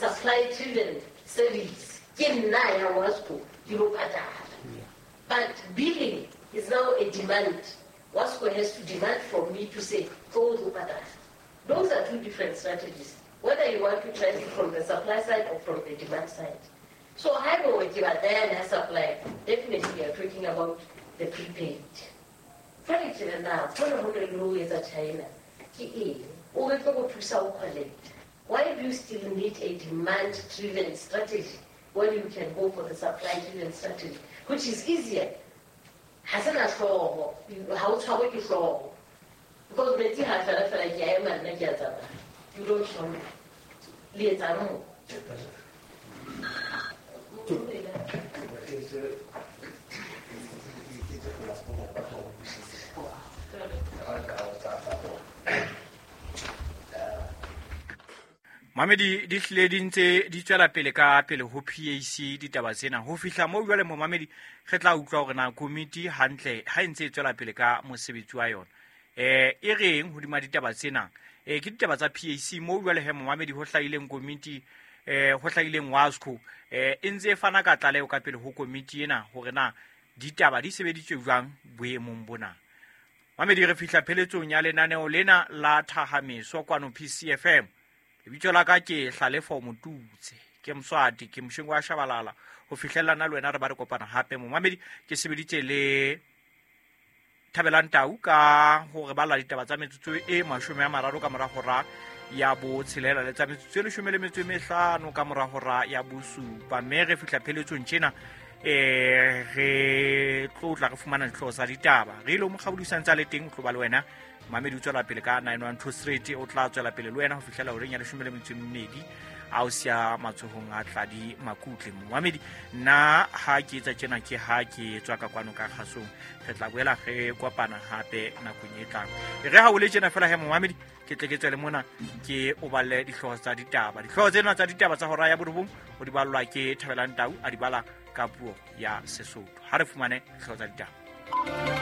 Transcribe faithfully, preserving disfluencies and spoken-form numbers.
supply driven service. Ke nna ya WASCO ke lo patala. But billing is now a demand. WASCO has to demand from me to say, go to patala. Those are two different strategies, whether you want to try it from the supply side or from the demand side. So haeba ke batla yane ya supply, definitely we are talking about the prepaid. Jwale ke re na hona ho ne le ho etsa China ke eng? O re tlo go thusa ho collect. Why do you still need a demand-driven strategy when you can go for the supply-driven strategy, which is easier? Ha se na hlooho, ha o tshwarwe ke hlooho. Because metsi ha fela fela ke a ema nna ke a tsamaya. You don't know. Le etsang mo? Mamedi di hlile di ntse di tswela pele ka pele ho P A C ditaba tsena. Ho fihla moo jwale momamedi re tla utlwa hore na komiti hantle ha e ntse e tswela pele ka mosebetsi wa yona. Eh e reng hodima ditaba tsena? Eh ke ditaba tsa P A C moo jwale he momamedi ho hlahileng komiti eh ho hlahileng WASCO eh e ntse e fana ka tlaleho ka pele ho komiti ena hore na ditaba di sebeditswe jwang boemong bona. Mamedi re fihla pheletsong ya lenaneo lena la Thahameso kwano P C F M. Lebitso la ka ke Hlalefo Motutse, ke Mswati, ke Moshengo wa Shabalala. Ho fihlellana le wena re ba re kopana hape momamedi. Ke sebeditse le Thabelang Tau ka hore bala ditaba tsa metsotso e mashome a mararo ka mora hora ya botshelela le tsa metsotso e leshome le metso e mehlano ka mora hora ya bosupa. Mme re fihla pheletsong tjena eh re tlotla re fumana dihlooho tsa ditaba. Re ile mo kgabodisang tsa le teng o tlo ba le wena Mamedi o tswela pele ka nine one two Street o tla tswela pele le wena ho fihlela horeng ya leshome le metso e mmedi a o siya matsohong a Tladi Makutle. Mamedi nna ha ke etsa tjena ke ha ke tswa ka kwano ka kgasong, re tla boela re kopana hape nakong e tlang. Re ha o le tjena fela he momamedi ke tle ke tswele mona ke o balle dihlooho tsa ditaba. Dihlooho tsena tsa ditaba tsa hora ya borobong o di ballwa ke Thabelang Tau a di bala ka puo ya Sesotho. Ha re fumane dihlooho tsa ditaba.